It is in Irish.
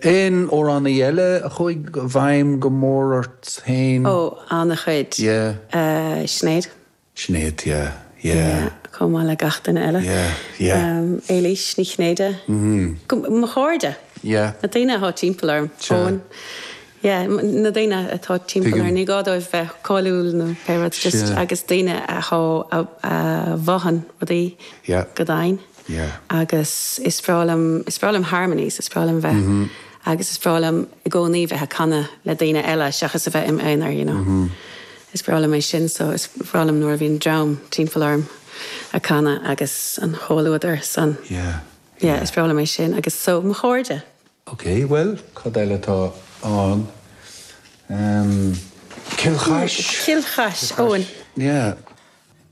Aon amhránaí eile a chuaigh i bhfeidhm go mór ort féin? Ó, an-chuid. Yeah. Sinéad. Sinéad, yeah, yeah. Yeah, chomh maith le gach duine eile. Yeah, yeah. Éilís Ní Chinnéide. Mo chairde. Yeah. Na daoine atá timpeall orm. Sea. Eoin. Yeah, na daoine atá timpeall Tuigim. orm. Ní gá dóibh bheith cáiliúil nó pé rud, just Sea. agus daoine atá, a, a mhothaíonn rudaí Yeah. go domhain. Yeah. Agus is breá liom, is breá liom harmonies, is breá liom bheith, agus is breá liom i gcónaí bheith ag canadh le daoine eile seachas a bheith im aonar, you know. Is breá liom é sin so is breá liom nuair a bhíonn dream timpeall orm ag canadh agus an comhluadar san. Yeah. Yeah, is breá liom é sin agus so mo chairde. Ok, bhuel, cad eile atá ann? Ehm, Cill Chais. Cill Chais, Eoin. Yeah.